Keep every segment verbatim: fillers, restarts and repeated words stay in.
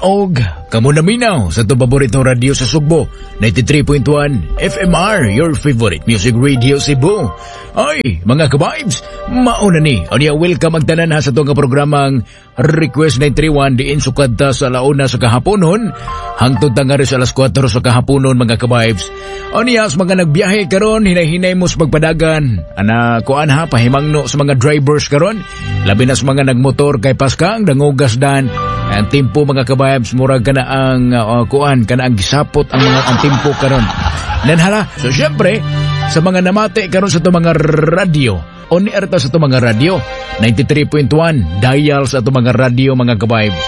Og kamo naminaw sa atong paboritong radyo sa Sugbo, ninety-three point one F M R, your favorite music radio Cebu. Ay, mga ka-vibes, mauna ni. Unya, welcome ang tanan ha sa atong programang Request nine three one diin sukad ta sa alauna sa kahaponon hangtod ta nga sa alas kwatro sa kahaponon, mga ka-vibes. Unya, sa mga nagbiyahe karon, hinay-hinay mo sa pagpadagan. Ana kuan ha, pahimangno sa mga drivers karon, labi na sa mga nagmotor kay paskang dangugas dan. Ang timpo, mga ka-vibes, murag kana ang uh, kuan kana ang gisapot ang mga ang timpo karon. Nanhala. So syempre, sa mga namati karon sa atong mga radyo, on air ta sa atong mga radyo, ninety-three point one dial sa atong mga radyo, mga ka-vibes.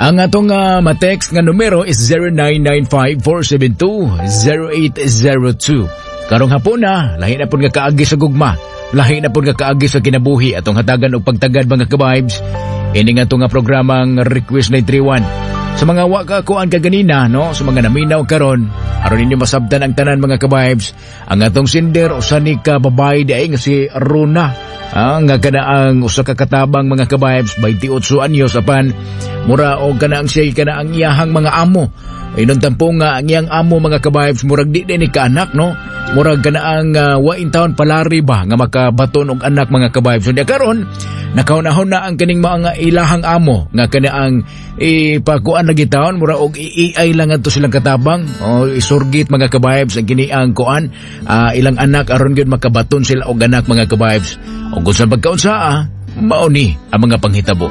Ang atong uh, matext nga numero is zero nine nine five, four seven two, zero eight zero two. Karong hapon na, lahi na pud nga kaagi sa gugma, lahi na pud nga kaagi sa kinabuhi atong hatagan og pagtagad, mga ka-vibes. Ini nga nga programang Request nine three one. Sa mga wa ka kuan kaganina, no, sa mga naminaw karon, aron ninyo masabtan ang tanan, mga ka-vibes, ang atong sender usa ni ka babae di ay nga si Rona. Ah, nga kana ang usa ka katabang, mga ka-vibes, twenty-eight anyos apan mura og kana ang siya kana ang iyahang mga amo. Inon tampo nga ang iyang amo, mga ka-vibes, murag di din ni kaanak, no. Murag kana ang uh, wa intawon palari ba nga makabaton og anak, mga ka-vibes. So, karon nakaunahon na ang kaning mga ilahang amo nga kana ang ipakuan lagi taon mura og I A I lang adto silang katabang o isurgit, mga ka-vibes, ang kini ang kuan uh, ilang anak aron gyud makabaton sila og anak, mga ka-vibes. Og kung sa pagkaunsa ah, mao ni ang mga panghitabo.